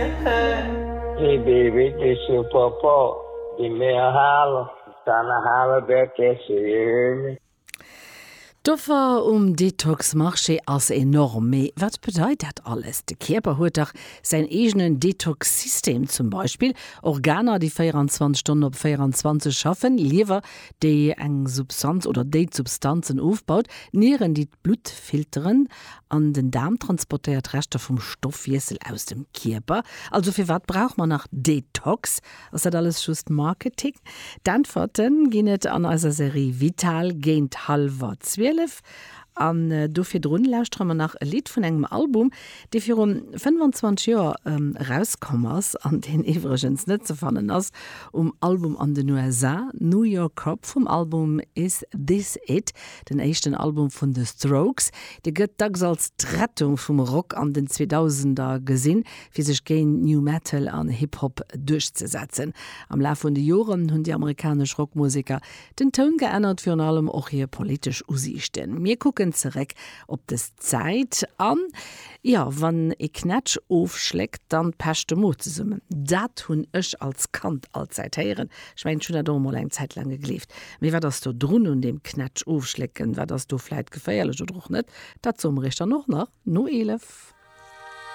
you hurt. Hey baby, this your papa. Give me a holler. Time to holler back at you, you hear me? D'Offer um Detox-Marché ass enorm. Mee wat bedeit dat alles? De Kierper huet dach säin eegenen Detox-System. Zum Beispill Organer, déi 24 Stonnen op 24 schaffen, Liewer, déi eng Substanz oder déi d'Substanzen ofbaut, d'Nieren, déi d'Blutt filteren an den Daarm transportéiert d'Reschter vum Stoffwiessel aus dem Kierper. Also firwat brauch mer nach Detox? Ass dat alles just Marketing? D'Äntwerte ginn et an eiser Serie Vital géint hallwer 12. An do virdrun lauschtere mer nach e Lidd vun engem Album, dee viru 25 Joer erauskomm ass an deen iwwregens net ze fannen ass um Album an den USA, New York Cop vum Album Is This It, den éischten Album vun The Strokes. Dee gëtt dacks als d'Rettung vum Rock an den Zweedausender gesinn. fir sech géint New Metal an Hip Hop duerchzesetzen. Am Laf vun de Joren hunn déi amerikanesch Rockmuseker den Toun geännert, virun allem och hir politesch Usiichten. Mir kucken zeréck op des Zäit an, jo, wann ee Knätsch ofschléckt, dann pecht de Mo zesummen. Dat hunn ech als Kand allzäit héieren. Ech mengen, ech hunn dat och emol eng Zäit laang gegleeft. Mee wat ass do drun un deem Knätsch ofschlécken? Wat ass do vläit geféierlech oder och net? Dat soe mer iech dann och nach no 11.